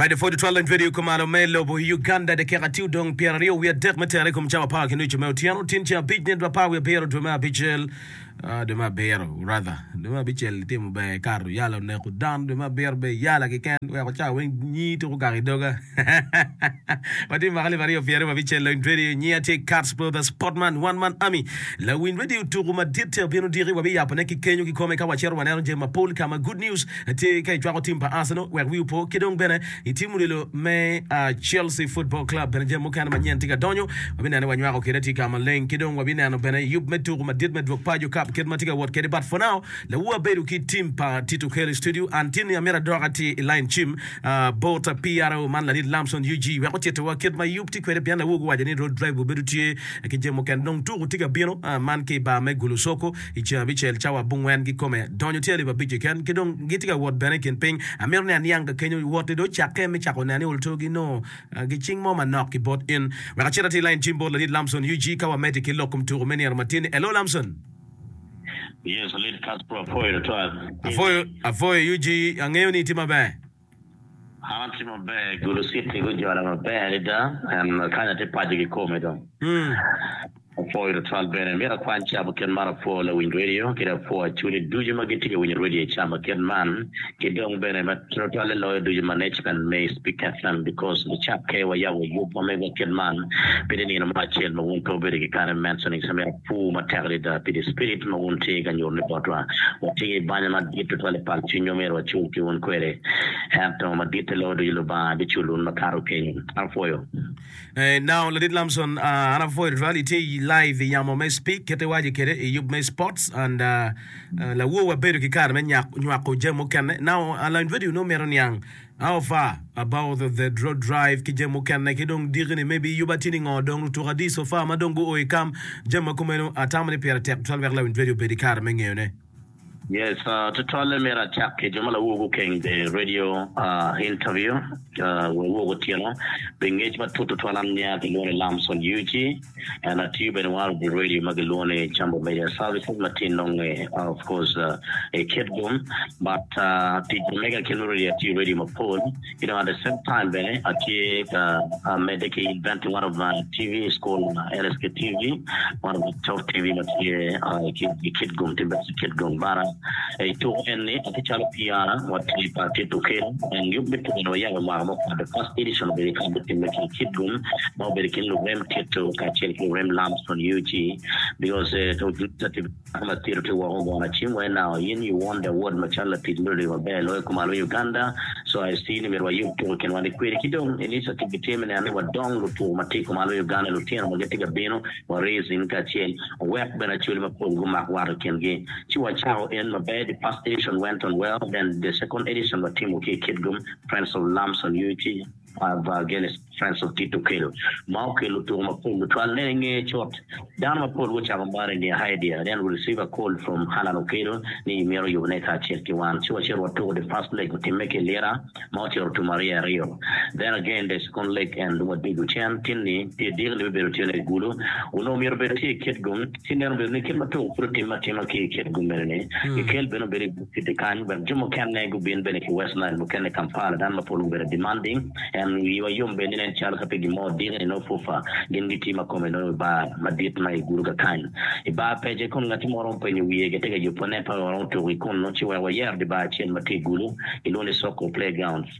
Right, pwod tutwal lony radio kumalo me lobo Uganda dakika tye odong 23 me tere i kom cawa apar ki nucu me otyeno tin ceng abic nino 17 dwe me abicel ah, dwe me abiro rather dwe me abicel itimo ber ikato yala oneko dano dwe me abiro ber yala keken weko cawa weng nyi tuko gak i doga watye mwaka 2026 lony radio nyi atye Cats Brothers Sportman One Man Army lawiny radio tuku madit tye obino diki wabiyabone ki kenyo kikome ka wacito waneno jami mapol ka ma good news Tye ka icwako tim pa Arsenal wek wi opo ki dong bene i tim odilo me Chelsea Football Club bene jami mukene manyen tye ka donyo. Wabineno ni wanywako kede tye ka maleng ki dong wabineno bene yub me tuku madit me dwok paco cup kit ma tye ka wot kede but for now lawu abedo ki tim pa Tito Kelly Studio an tin ni amito adok atir i line cim bot PRO man ladit Lamson UG wek otitiwa kit ma yub tye kwede pien lawu guwaco ni road drive obedo tye ki jami mukene dong tuku tye ka bino man ki i bar me Gulu Soko I ceng abicel cawa abongwen kikome, donyo tye alip abic keken, ki dong gitye ka wot bene i kin piny. Amito ni aniang ka kenyo wot-ti dong ocakke me cako neno ni oltogi nongo gicing mo manok ki bot in. Wek acit atir lain cim bot ladit Lamson UG ka wamedde ki lok kom tuko me nino matin-ni. Hello Lamson. Yes, ladit Castro apwoyo tutwal. Apwoyo, apwoyo UG, angeyo ni itye maber. An atye maber, Gulu City gujola maber adada and kany atye paco kikome dong. Apwoyo tutwal bene. Myero akwany ca ma kit man apwo lawiny radio ki dong apwo acholi ducu ma gitye ka winyo radio i ca ma kit man ki dong bene ma tutwalle loyo ducu management me Speak FM because nicakke wayabo yub ma megwa kit man pe tye nino mo acel ma wun pe wubedo ki kare me mentioning so myero apur matek adada pi the spirit ma wun tye ka nyuto ni botwa. Watye ki banya madit tutwal i pal cwinywa myero wacul ki wun kwede ento maditte loyo ducu Lubanga biculo wun makato kenyo. Apwoyo. Now ladit Lamson an apwoyo tutwal itye i live i yamo me speak kit iwaco kede i yub me sports and lawor wa bedo ki kare me nywako jami mukene now lany radio nongo mito niang how far about the road drive ki jami mukene ki dong diki ni maybe yuba tye ni ngo dong lutuko adi so far ma dong guo i kam jami ma kumeno atamo ni pire tek tutwal wek lawiny radio obed ki kare me ngeyone. Yes, tutwalle myero acak ki jo ma lawor gukeng the radio interview lawor otyeno pi ngec matut tutwal an nya kilwongo ni Lamson UG and atiyo bene one of the radio ma gilwongo ni Jambo Media Services ma tye nonge of course i Kitgum but tic ma mega kit me radio atiyo radio mapol ki dong at the same time bene atye ka medde ki inventing one of my TV is called LSK TV one of the top TV ma tye i Kitgum tye best i Kitgum but i tuko eni atye calo PR wa tye pa Tito Okello and yub me tuko eni wayabo mwaka mukato the first edition obedo i ka timme ki i Kitgum ma obedo i kin lurem Tito kacel ki lurem Lamson UG because Dako ma tito tye woko ogona cim wai now in you won the award macalo latic me radio maber loyo kumalo me Uganda so I see ni myero wayub tuko i kinwa ni kwedi ki dong initiative gitye me neno ni wadong lutuko ma tye kumalo me Uganda lutino ma gitye ka bino wa raising kacel wek bene acholi mapol gumak wat i kingi ci wacako en maber the first edition went on well then the second edition watimo ki i Kitgum Friends of Lamson UT Against Friends of Tito Okello ma okelo tuko mapol tutwal. Nen inge cut, dano mapol gucako mare ni idea. Then we receive a call from Allan Okello ni mito yubone kacel ki wan. Ci wacito watuko the first leg otimme ki Lira ma ocito otum aryo aryo. Then again the second leg and wadwogo cen tin ni pi odiko ni bibedo tye i Gulu. Onongo myero obed tye i Kitgum ci nen obedo ni kit ma tuko pud otimme atima ki i Kitgum mene ni kikel bene obedo i Citi kany wek jo mukene gubin bene ki West Nile mukene Kampala dano mapol gubedo demanding and wiwa yom bene ni nen calo ka pe gin mo odiki ni nongo fufa gin gitye ma kome nongo i bar madit ma i gudo kakany i bar pece kun ngati mo romo penyo wiye gitye ka yubo ne pe waromo tuko i kunu ci wek wayero di bar acel ma tye i gulu gilwongo ni Soko Playgrounds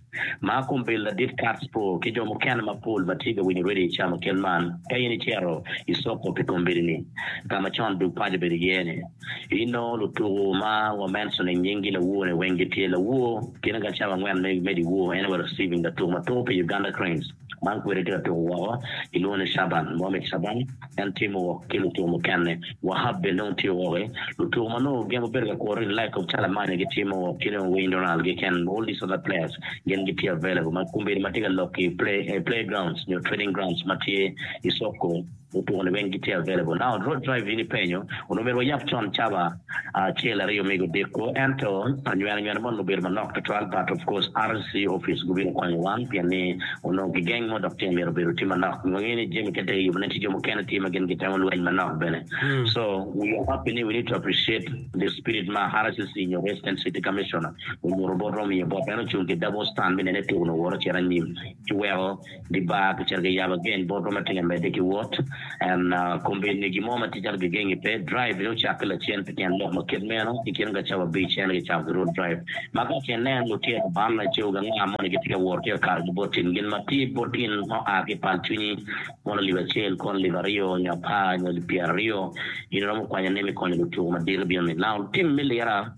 ma kombeddi ladit Katz po ki jo mukene mapol ma tye ka winyo radio i camo kit man ka in icito i Soko pi kombeddi ni ka ma con dug paco obedo iye ni Inongo lutuku ma wa mentioning nyinggi lawur ni weng gitye lawur kine ka cawa angwen me dyewor en wa receiving latuku ma tuku pi Uganda Cranes man kwede tye ka tuku woko kilwongo ni Shaban Mohamed Shaban en tye muwok ki lutuku mukene Wahab bene dong tye woki lutuku ma nongo gin gubedo ka kuru in like of Calamanya gitye muwok ki dong Wayne Ronald gi ken all these other players gin gitye available ma kombeddi ma tye ka lok ki play grounds nyo training grounds ma tye i Soko. Lutuku ni weng gitye available. Now road drive in ipenyo onongo myero wayab con cawa acel aryo mego odiko ento anywena nywena mo onongo obedo manok tutwal but of course RC office gubino konyo wan pien ni onongo gigeng mo dok tye myero obedo tye manok. Wangeyo ni jami kite kiyubo ne tye jo mukene tye ma gin gitemo lweny manok bene so we are happy ni we need to appreciate the spirit ma RCC nyo Resident City Commissioner onyuto botwa omiyo botwa en ocung ki double stand me nene tuku ni owoto ocito anyim ci weko Di bar kicito kiyabo again botwa ma tye ka medde ki wot and kombeddi gin mo ma tye calo gigengi pe drive bene ocakke lacen pi tyen lok ma kit meno i kine ka cawa abic en kicako ki road drive ma ka ce inen lutino man laco anga moni gitye ka wot tye ka kato ki bot tin gin ma tye bot in ma oa ki i pal cwinyi kono alip acel kono alip aryo nyo apar nyo alip pyeraryo in iromo kwanyone me konyo lutuku madito bino ni now tim me lira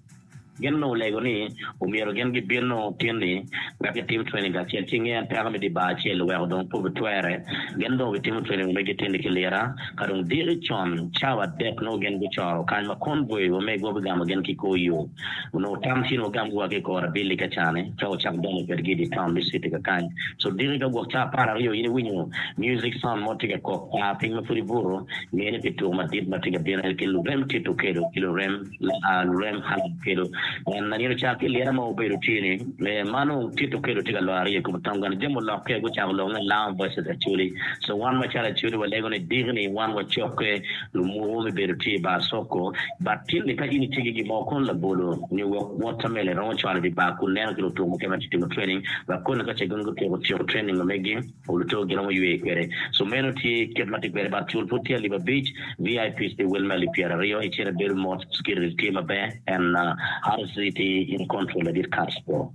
Gin onongo olego ni omyero gin gibin nongo tin-ni wek gitim training kacel. Ci inge en peko me dye bar acel oweko dong pe obitwere. Gin dong gitimo training omegi tin-ni ki lira. Ka dong diki con cawa adek nongo gin gucoro kany ma convoy omegwa bigamo gin ki kor yo. Onongo tam tye ni wagamgi wa ki i kor abili ka cani ka wacak donyo kwedgi i dye taun me city kakany. So diki ka gwok cawa apararyo in iwinyo music sound mo tye ka kok par piny ma pud ibuto, nge ni pi tuko madit ma tye ka bino en ki lurem Tito Okello ki lurem Lurem Alan Okello en nino ca ki lira ma obedo tye ni ma nongo Tito Okello tye ka loro iye kom tongone jami olokke gucako lok ni Lamu versus Acholi so wan macalo Acholi walego ni diki ni wan wacokke lumuku me bedo tye i bar Soko but tin ni ka in itye ki gin mo kono labolo nyo wek watermelon iromo cwalo i bar kun neno ki lutuku mukene ma tye timo training wek kono ka ce gin gutyeko tyeko training ma megi Oluto giromo ywe kwede. So meno tye kit ma tye kwede but cul pud tye alip abic, VIPs tye wel me alip pyeraryo, icito ibedo mot, security tye maber and RC tye in control ladit Cats bro.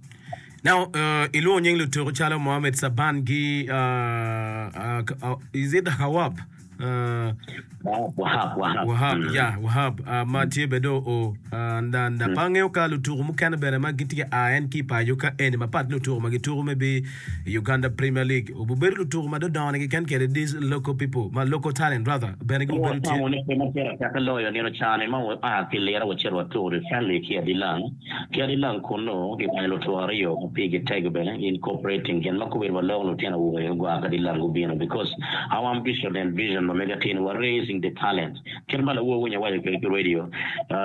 Now ilwongo nying lutuku calo Mohamed Saban gi is it Hawab? Wahab, Wahab. Wahab, ya, Wahab, ma tye bene dong oo. Nda, nda, pe angeyo ka lutuku mukene bene ma gitye ka a en ki i paco ka eni mapat ki lutuku ma gituku me bi i Uganda Premier League. Obibedo lutuku ma dodongo ni keken kede these local people, ma local talent rather, bene gubedo tye. Watamo ni pe ma pire tek loyo nino cani ma wa ki lira wacito watuku i friendly ki Adilang. Ki Adilang kunnu gikwanyo lutuku aryo ma pigi tego bene incorporating gin ma kobedi waloko lutino awobe gua ki Adilang gubino because our ambition and vision ma mega tye ni wa raising the talent kit ma lawor winyo awaco kwede ki radio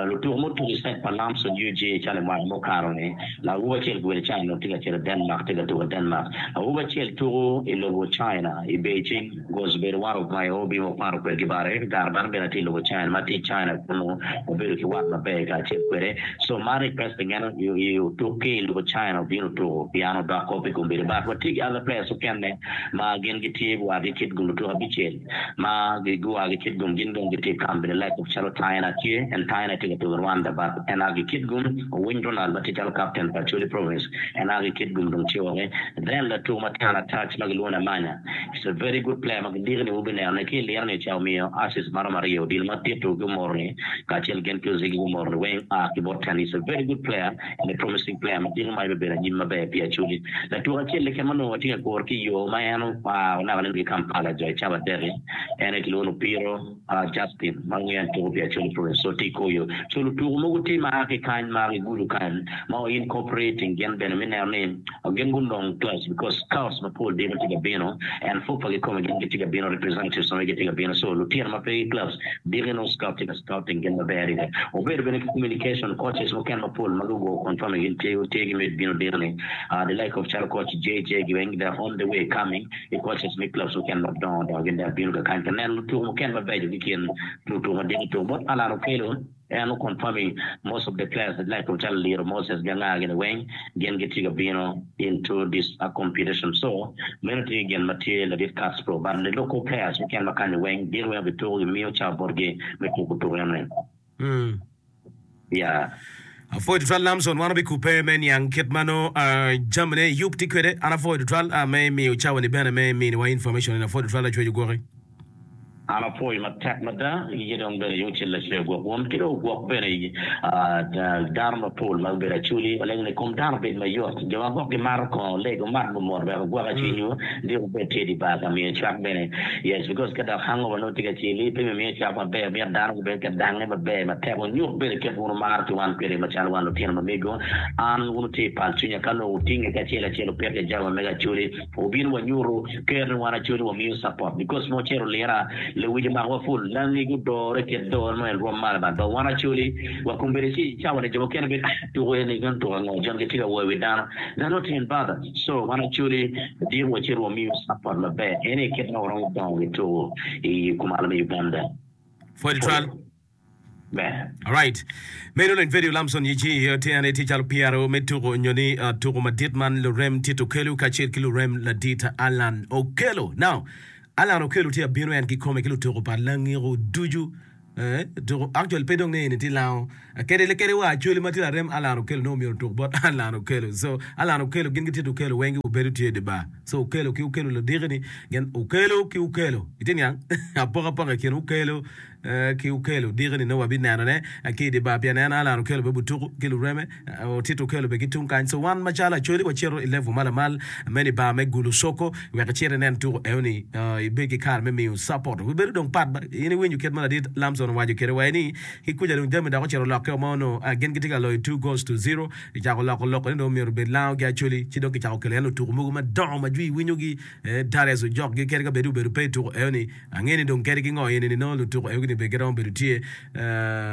lutuku mutuku i set pa Lamson UG calo i mwaka mukato ni Awobi acel gubedo i China tye ka cito i Denmark tye ka tuko i Denmark. Awobi acel tuko i lobo China i Beijing was obedo one of my awobi ma wakwano kwedgi bare. Kare man bene atye i lobo China ma atye i China kunu wabedo ki wat maber kacel kwede. So man requesting en otuk ki i lobo China obino otuko pien odoko pi kombeddi but watye ki other players mukene ma gin gitye wa ki Kitgum lutuko abicel. ma gua ki Kitgum gin dong gitye i kamp bene like calo Taina tye en Taina tye ka tuko i Rwanda but en a ki Kitgum Owiny Ronald ma tye calo captain pa Acholi province en a ki Kitgum dong tye woko then latuko ma tye attach ma gilwongo ni Amanya is a very good player ma gidiki ni wubineno ne ki i liro ni ca omiyo assist maromo aryo odilo ma Tito ki Omoro ni kacel gin ki Ozigi gumoro ni weng a ki bot en is a very good player and a promising player ma diki ma bibedo anyim maber pi Acholi. Latuko acel keken ma onongo watye ka kuro ki i yo ma en oa onaka nen ki Kampala jo i cawa adek-ki en aye kilwongo ni Opiro Justin ma ngeyo en tuko pi Acholi Province so tye i kor yo. So lutuko mogo tye ma a ki kany ma gigudo kany ma o incorporating gin bene me neno ni gin gunong clubs because scouts mapol diki tye ka bino and FUFA kikome gin gitye ka bino representatives ma gitye ka bino so lutino ma pe ki clubs Diki nongo scout tye ka scouting gin maber adada. Obedo bene ki communication coaches mukene mapol ma gugo confirming gin tye tye ki mit bino diki ni the like of calo coach JJ gi weng they are on the way coming ki coaches me clubs mukene madongo dongo gin dok bino kakany ka neno lutuku mukene mabeco ki kin lutuku ma diki tuko bot Allan Okello en o confirming most of the players the like of calo Liro Moses gi anga gini weng gin gitye ka bino into this competition so meno tye gin ma tye ladit Castro but the local players mukene ma kany weng gin weng obituko gimiyo cawa botgi me tuko tuko enoni yeah. Apwoyo tutwal Lamson, wan wabikubbe me niang kit ma nongo jamine yub tye kwede. An apwoyo tutwal me miyo cawani bene me miniwa information eni. Apwoyo tutwal Lacwec ogwoki. An apwoyo matek mada, iye dong bene yung cel lacwe ogwok wun ki dong ogwok bene dano mapol ma gubedo acholi. Walego ni kom dano obed mayot, jo ma gwok gimato kongo leg wumat mot wek ogwoka cwinywu dok wubed tye i dye bar ka miyo cwak bene. Yes because ka dok hangover nongo tye ka celi pe mimiyo cwak maber mito dano gubed ka dange maber matek wunyut bene kit wun wumaro ki wan kwede macalo wan lutino ma mego. An wun wutye i pal cwinya ka nongo wutinge ki acel acel wupito ki jami ma mego acholi. Wubino wanyuto ker ni wan Acholi wamiyo support because ma wucito lira. Lewic omakowa pul, langi gudore kit dore ma en rwom malo bal. But wan Acholi wa kombeddi ci cawa ni jo mukene bedo ah tuko eni meno tuko ango jon gitye ka woyo wi dano. They're not even bothered. So wan Acholi diko wacito wamiyo support maber en aye kit ma waromo dongo ki tuko i kumalo me Uganda. Pwod twal. Ber. Alright. Meno lony vedio Lamson Yici otyene tye calo pyero me tuko nyo ni uh, tuko madit man lurem Tito Okello kacel ki lurem ladit Allan Okello. Now, Allan Okello tye abino en kikome ki lutuko pa Langiko ducu. Eh, tuko actually pe dong ni eni tye lango. Kede kede wa actually ma tye larem Allan Okello nongo myero otuk bot Allan Okello. So Allan Okello gin ki Tito Okello weng gubedo tye i dye bar. So Okello ki Okello ladiki ni gin Okello ki Okello. Itye niang? Apokapoka i kin Okello Ki Okello diki ni nongo wabineno ne ki i dye bar pien en Allan Okello bene butuku ki lureme Otito Okello bene ki tung kany so wan macalo Acholi wacito i level ma lamal meno i bar me Gulu Soko wek icit inen tuku eno ni ibed ki kare me miyo support obibedo dong pat ba in iwinyo kit ma ladit Lamson owaco kwede wa ni ki kuca dong jami dok ocito olokke o ma onongo gin gitye ka loyo two goals to zero kicako loko loko ni dong myero obed lango ki Acholi ci dong kicako kelo en lutuku mogo madongo ma jwi winyogi Darius Ojok gi kadi ka bed ni obedo pe i tuku eno ni Angeyo ni dong kadi ki ngo eni ni nongo lutuku egi ni bene giromo bedo tye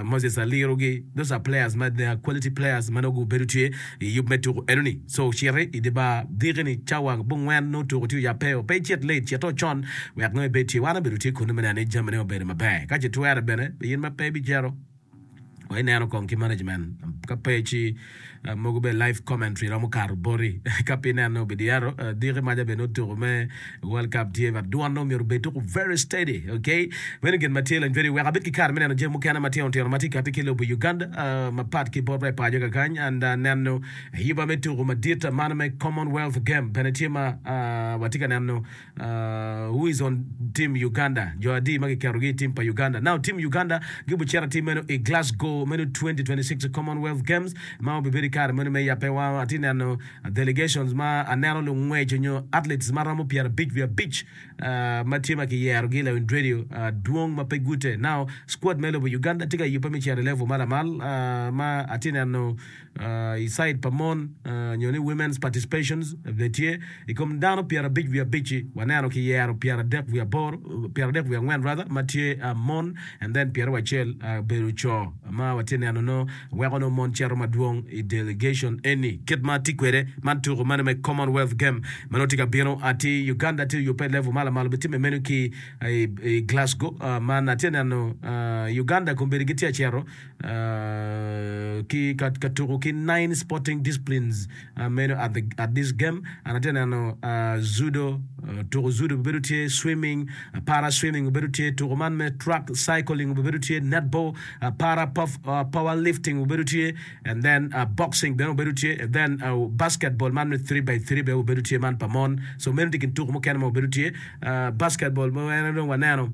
Moses Aliru gi those are players ma they are quality players ma nongo gubedo tye i yub me tuku eno ni so citi i dye bar diki ni cawa bungwen nongo tuku tye oyabbe o pe icit late cito con wek nongo ibed tye wan obedo tye kunu me neno ni jami ne obedo maber ka ce twere bene in ma pe ibicito Wa ineno kong ki management ka pe ci mogo bene live commentary romo kato boti ka pe ineno obidyero diki maca bene otuko me world cup tye but dwon nongo myero obed tuko very steady okay meno gin ma tye lony very wek abed ki kare me neno jami mukene matino tino ma tye kati ki lobo Uganda mapat ki bot wa i paco kakany and neno yuba me tuko madit man me commonwealth game bene tye ma watye ka neno Who is on team Uganda? Jo adi ma kiketogi i team pa Uganda? Now team Uganda gibucito atir meno i Glasgow meno 2026 Commonwealth Games ma obibedo i kare meno me yabbe. Wa atye neno delegations ma aneno lungwec nyo athletes ma romo 55 ma tye ma kiyerogi lawiny radio dwong ma pe gute. Now squad me lobo Uganda tye ka yubbe me cito i level ma lamal ma atye neno I cide pa mon nyo ni women's participations bene tye i kom dano 50 wiye abic-ci waneno kiyero 30 wiye aboro 34 wiye angwen rather ma tye mon and then 21 obedo co ma watye neno nongo weko nongo mon cito madwong i delegation eni kit ma tye kwede man tuko meno me Commonwealth game ma nongo tye ka bino atir Uganda tye oyubbe level ma lamal obitimme meno ki i Glasgow man atye neno Uganda kombeddi gitye ka cito ki ka tuko ki nine sporting disciplines meno at the at this game and atye neno judo tuko judo obedo tye swimming para swimming obedo tye tuko man me track cycling obedo tye netball para power lifting obedo tye and then boxing bene obedo tye and then basketball man me 3 by 3 bene obedo tye man pa mon so meno tye kin tuko mukene ma obedo tye basketball ma en dong waneno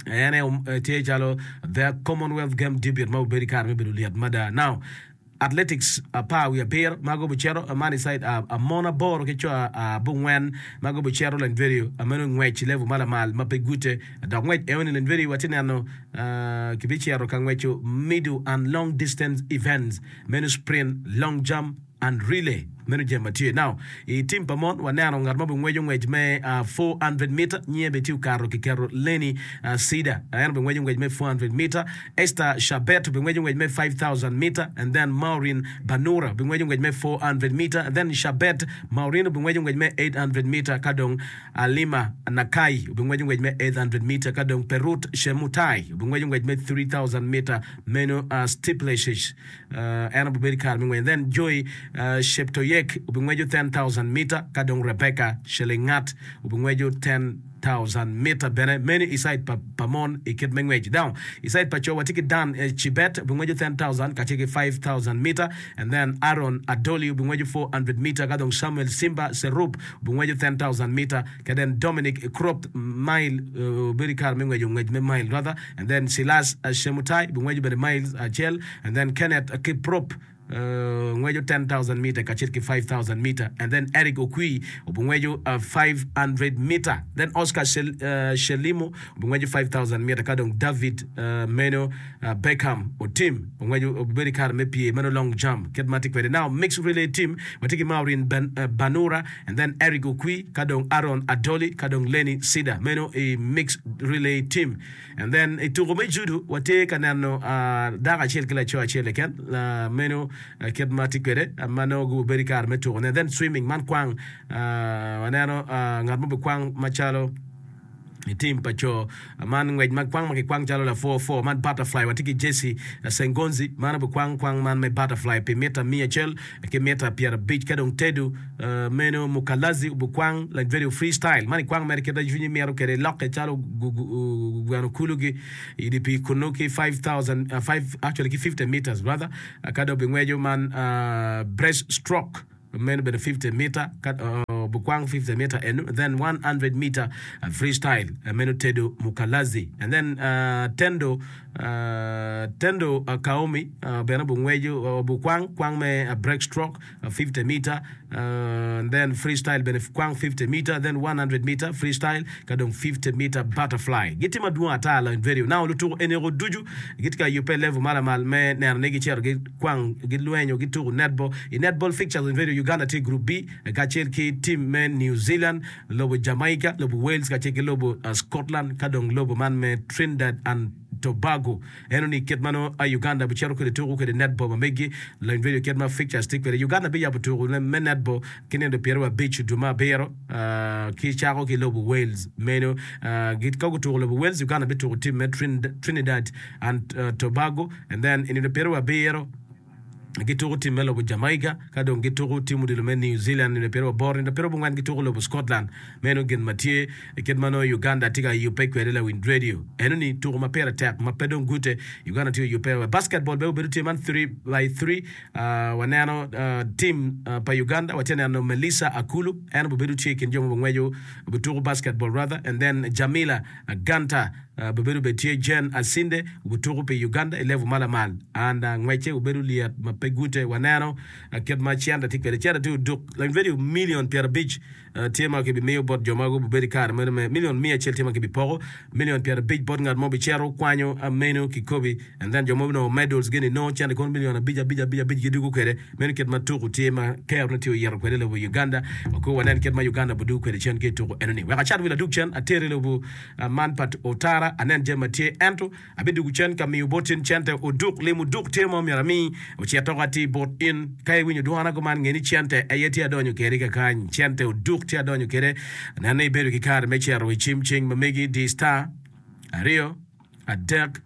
En aye tye calo The Commonwealth Game debut ma obedo i kare me bedo lyet mada. Now, athletics apar wiye abiro ma gubucito man i side mon aboro ki co abongwen ma gubucito Lanyverio meno ngwec level ma lamal ma pe gute dok ngwec enoni Lanyverio watye neno kibicito ka ngweco middle and long distance events meno sprint, long jump and relay meno jami ma tye. Now, i team pa mon waneno ngat ma obingweco ngwec me 400 meter nyinge bene tye okato kiketo Lenny Cedar en obingweco ngwec me 400 meter, Esther Shabet obingweco ngwec me 5000 meter and then Maureen Banura obingweco ngwec me 400 meter and then Shabet Maureen obingweco ngwec me 800 meter ka dong Alima Nakai obingweco ngwec me 800 meter ka dong Perut Chemutai obingweco ngwec me 3000 meter meno steeplechase. En obibedo i kare me ngwec. Then Joy Cheptoyek obingweco 10,000 mita, ka dong Rebecca Chelengat obingweco 10,000 mita bene. Meno i cide pa, pa mon i kit me ngwec. Now, i cide pa co watye ki Dan Chibet obingweco 10,000 kacel ki 5,000 mita, and then Aaron Adoli obingweco 400 mita, ka dong Samuel Simba Serup obingweco 10,000 mita, ka then Dominic Krop mile obedo i kare me ngweco ngwec me mile rather, and then Silas Shemutai obingweco bene miles acel, And then Kenneth Kiprop. Ngweco 10,000 meter kacel ki 5,000 meter and then Eric Okwi obingweco 500 meter then Oscar Shelimo obingweco 5,000 meter ka dong David meno Beckham Otim ongweco obibedo i kare me pye meno long jump kit ma tye kwede. Now mixed relay team watye ki Maureen Banura and then Eric Okwi ka dong Aaron Adoli ka dong Lenny Cedar meno i mixed relay team. And then i tuko me judo watye ka neno dako acel ki laco acel keken meno kit ma tye kwede ma nongo gubedo i kare me tuko ne. Then swimming man kwang waneno ngat mo bikwang macalo i team pa co man ngwec ma kwang ma kikwang calo lapwo pwo man butterfly watye ki Jesse Sengonzi man obikwang kwang man me butterfly pi mita miya acel ki mita 50 ka dong Tedu meno Mukalazi obikwang like very free style man ikwang mere kit ma cwinyi mito kwede ilokke calo gweno kulugi i dye pii kunu ki 5000 five actually ki 50 meters rather ka dong obingweco man breast stroke meno obedo 50 meter ka obikwang 50 meter enu then 100 meter free style meno Tedu Mukalazi and then Tendo Tendo Kaomi bene obingweco obikwang kwang me break stroke 50 meter and then free style bene kwang 50 meter then 100 meter free style ka dong 50 meter butterfly. Gitye madwong ata lony vedio. Now lutuku eniko ducu gitye ka yubbe level ma lamal me neno ni gicito gikwang gilwenyo gituku netball. I netball fixtures in vedio Uganda tye i group B kacel ki team me New Zealand, lobo Jamaica, lobo Wales kacel ki lobo Scotland ka dong lobo man me Trinidad and Tobago. Eno ni kit ma nongo Uganda bicito kwede tuku kwede netball ma megi lony vedio kit ma fixtures tye kwede. Uganda biyabo tuku me netball ki nino pyeraryo abic dwe me abiro ki cako ki lobo Wales. Meno ka gutuko lobo Wales, Uganda bituko team me Trinidad and Tobago and then i nino pyeraryo abiro gituko tim me lobo Jamaica, ka dong gituko tim odilo me New Zealand nino pyeraboro, nino pyerabongwen gituko lobo Scotland. Meno gin ma tye i kit ma nongo Uganda tye ka yubbe kwede lawiny radio. Eno-ni tuko ma pire tek ma pe dong gute. Uganda tye ka yubbe wa basketball bene obedo tye man three by three. Waneno tim pa Uganda, watye ka neno Melissa Akulu, en obedo tye i kin jo ma obingweco, obituko basketball rather, and then Jamila Ganta. Obedo bene tye Jane Asinde obutuku pi Uganda i level ma lamal and ngwecce obedo lyet ma pe gute. Waneno kit ma cente tye kwede. Cente tye oduk like very million 50 tye ma kibimiyo bot jo ma gubedo i kare meno me million 100 tye ma kibipoko million 50 bot ngat mo bicito kwanyo menu kikobi and then jo mo binongo medals gini nongo cente kono million abic abic abic abic gidwogo kwede. Meno kit ma tuku tye ma kerone tye oyito kwede i lobo Uganda. Wakur wanen kit ma Uganda budugo kwede cen ki i tuku enoni. Wek acat wil adug cen ater i lobo Man pa otara, anen jami ma tye, ento abidwogo cen ka miyo bot in cente oduk. Lim oduk tye ma omyero ami, ocit dok atir bot in. Ka iwinyo dwona kuman, nge ni cente aye tye adonyo kwede kakany. Cente oduk tye adonyo kwede. Nen ni ibedo ki kare me cito i cim cing ma megi, di star aryo, adek,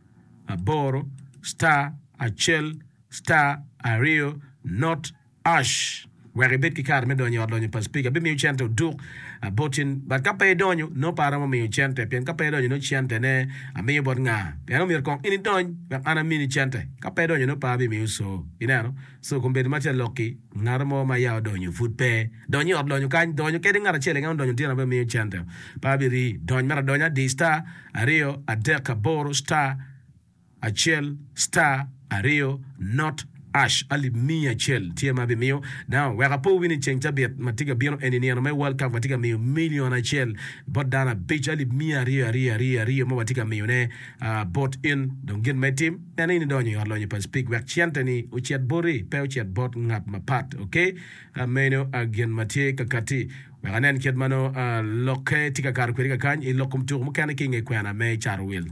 aboro, star acel, star aryo, not Ash, wek ibed ki kare me donyo i ot lonyo pa Spika, abimiyo cente oduk bot in. But ka pe idonyo, nongo pe aromo miyo cente, pien ka pe idonyo nongo centene amiyo bot nga? Pien omyero kong in idony wek an amini cente. Ka pe idonyo nongo pe abimiyo co. Ineno? Co kombeddi ma tye lok-ki, ngat mo ma ya odonyo pud pe. Dony i ot lonyo kany, donyo kadi ngat acel keken odonyo tyen abimiyo cente. Pe abirii. Dony mere adonya, di star aryo adek aboro star. Acel star aryo not ash alip miya acel tye ma abimiyo. Now wek apo wi ni ceng cabit ma tye ka bino eni nino me World Cup watye ka miyo million acel bot dano abic alip miya aryo aryo aryo aryo ma watye ka miyo ne bot in. Dong gin ma itim en in idonyo i ot lonyo pa Speke wek cente ni ocit boti pe ocit bot ngat mapat ok meno gin ma tye ka kati. Wek anen kit ma nongo lokke tye ka kato kwede kakany i lok kom tuko mukene ki i nge kwena me cato wil.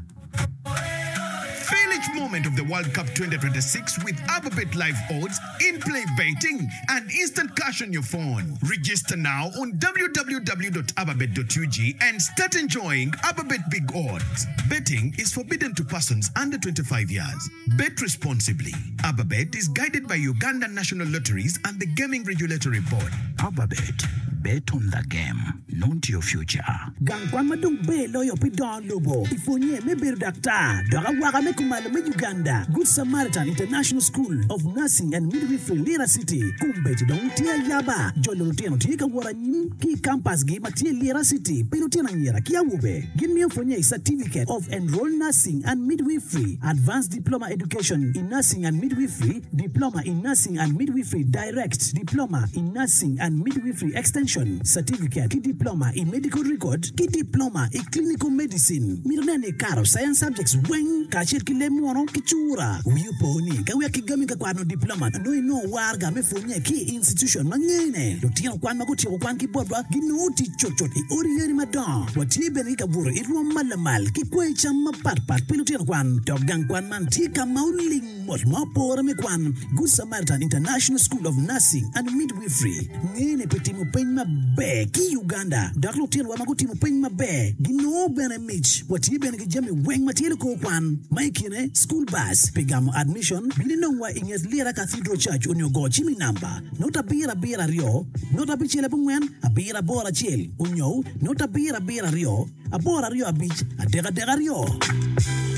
Feel each moment of the World Cup 2026 with Ababet Live Odds, in-play betting, and instant cash on your phone. Register now on www.ababet.ug and start enjoying Ababet Big Odds. Betting is forbidden to persons under 25 years. Bet responsibly. Ababet is guided by Uganda National Lotteries and the Gaming Regulatory Board. Ababet. Bet on the game, not your future. Gang kwan ma dong ber loyo pi dongo lobo i pwonye me bedo daktar dok awaka me kumalo me Uganda, Good Samaritan International School of Nursing and Midwifery Lira City, kombeddi dong tye ayaba. Jolo lutino tye ka wot anyim ki i kampasgi ma tye i Lira City pi lutino anyira ki awobe. Gin miyo pwonye i Certificate of Enrolled Nursing and Midwifery, Advanced Diploma Education in Nursing and Midwifery, Diploma in Nursing and Midwifery Direct, Diploma in Nursing and Midwifery Extension, Certificate ki Diploma i Medical Record, ki Diploma i Clinical Medicine. Mito nen ni ikato Science Subjects weng kacel ki leb munu ki cura. Wi opo ni ka wek kigami ka kwano diploma nongo inongo waraga me pwonye ki i institution ma ngene. Lutino kwan ma gutyeko kwan ki botwa ginongo tic cutcut i odi yadi madongo. Watye bene ki kabuto i rwom ma lamal ki kwayi cam mapatpat pi lutino kwan. Dok gang kwan man tye ka ma oling mot ma opore me kwan, Good Samaritan International School of Nursing and Midwifery ngene pi timo peny maber ki i Uganda dok lutinowa ma gutimo peny maber ginongo bene mic. Watye bene ki jami weng ma tye likor kwan ma i kine school bus pi gamo admission. Bin inongwa i nget Lira Cathedral Church onyo go cim i namba not 772 0 9 7 8 1 onyo not 7 7 2 8 2 5 3 3 2.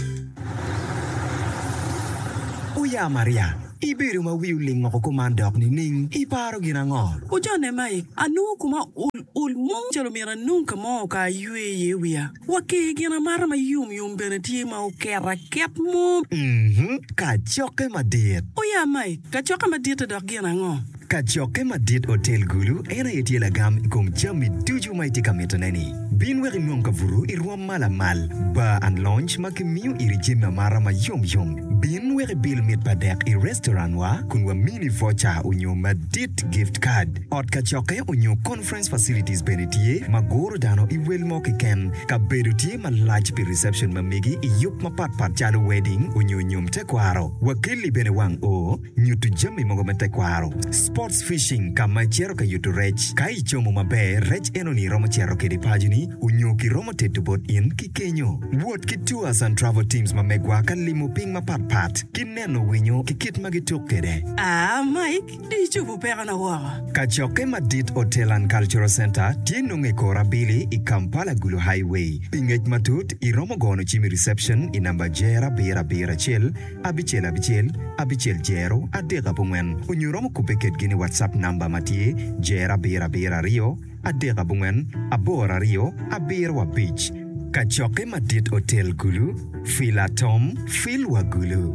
Oya Maria, ibedo ma wi oling woko kuman dok nining? Iparo gin ango? Ojone Mike, anongo koma ol ol mo calo myero anong ka mo ka aywe iye wiya. Wa ki gin amata ma yom yom bene tye ma oket aket mo. Mhm, kacokke madit. Oya Mike, kacokke madit-te dok gin ango? Kacokke madit Otel Gulu en aye tye lagam i kom jami ducu ma itye ka mitone-ni. Bin wek inong kabuto i rwom ma lamal, bar and lounge ma kimiyo iri jami amata ma yom yom. Bin wek ibil mit pa dek i restaurant wa kun wamini voucher onyo madit gift card. Ot kacokke onyo conference facilities bene tye ma guro dano i wel mo keken. Kabedo tye malac pi reception ma megi i yub mapat pat calo wedding onyo nyom tekwaro. Wakelli bene wang oo. Nyuto jami mogo me tekwaro. Sports fishing ka ma icito ka yuto rec. Ka icomo maber, rec enoni iromo cito kede paconi onyo kiromo teto bot in ki kenyo. Wot ki tours and travel teams ma megwa ka limo piny mapat pat ki neno winyo ki kit ma gituk kede. Aa Mike, di icobo pekona woko. Kacokke madit Hotel and Cultural Centre tye nongo i kor abili i Kampala Gulu Highway. Pi ngec matut, iromo gono cim i reception i namba jer abiro abiro acel abicel abicel abicel jero adek abongwen onyo iromo kubbe kedgi ni WhatsApp namba ma tye jero abiro abiro aryo adek abongwen aboro aryo abiro abic. Kacokke madit Otel Gulu, Fil Atom, Fil wa Gulu.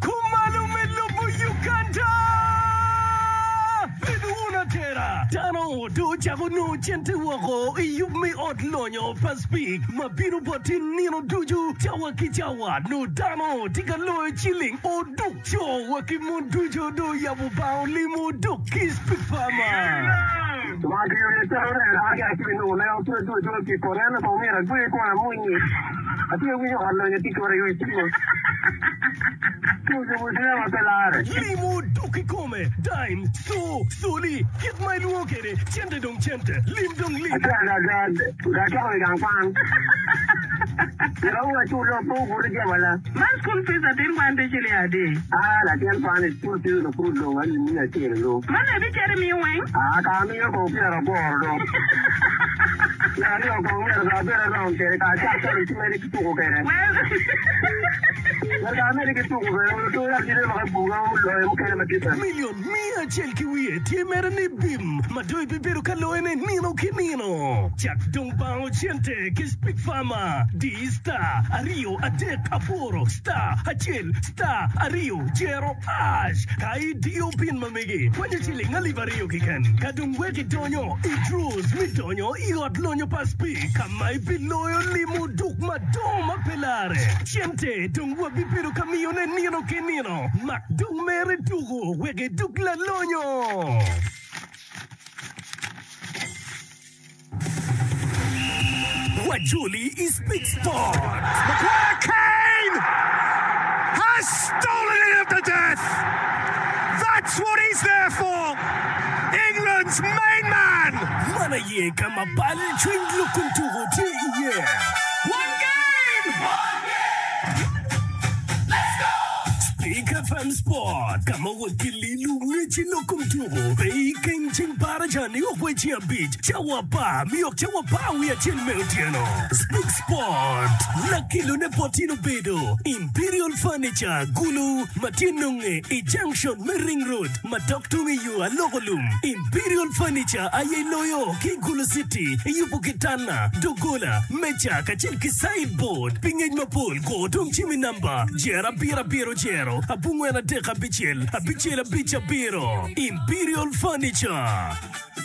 Kumalo me lobo Uganda! Bed wun atera! Dano dong ocako nongo cente woko i yub me ot lonyo pa Speke ma bino boti nino ducu cawa ki cawa. Nongo dano tye ka loyo ciling oduk. Co wa ki mon ducu dong oyabo bang olimo oduk ki Speke Farmer. Limo dok kikome, dime, co, coli, kit ma ilwongo kwede, cente dong cente, lim dong lim. Milion miya acel ki wiye tye mere ni bim ma dong ibibedo ka loyone nino ki nino. Cak dong bango cente ki Speak Farmer. Di star aryo adek aboro star acel star aryo jero ash ka idiyo pin ma megi kwanyo ciling alip aryo keken. Ka dong wek idonyo i draws me donyo i ot lonyo pa Speak ka ma ibiloyo limo duk madongo ma pe larre. Cente dong wabibedo ka miyone nino ki nino. Mak dong mere tuku wek iduk lalonyo. Wajoli i Speak Sport. Maguire Kane has stolen it at the death! That's what he's there for! England's main man! Man aye ka ma bal cwiny lok kom tuko tye iye. One game! Speak. FM Sport, ka ma wot ki lilu ngec i lok kom tuko pe i keng ceng baraja niok wa i ceng abic cawa apar miok cawa apar wiye acel me otyeno. Speak Sport, Lakilone bot in obedo Imperial Furniture, Gulu, ma tye nonge i junction me Ring Road ma dok tung i yo Aloko Lum. Imperial Furniture aye loyo ki i Gulu City i yubo kitanda, doggola, meja kacel ki sideboard. Pi ngec mapol, go dong cim i namba jer abiro abiro jero abongwen adek abicel abicel abic abiro. Imperial Furniture.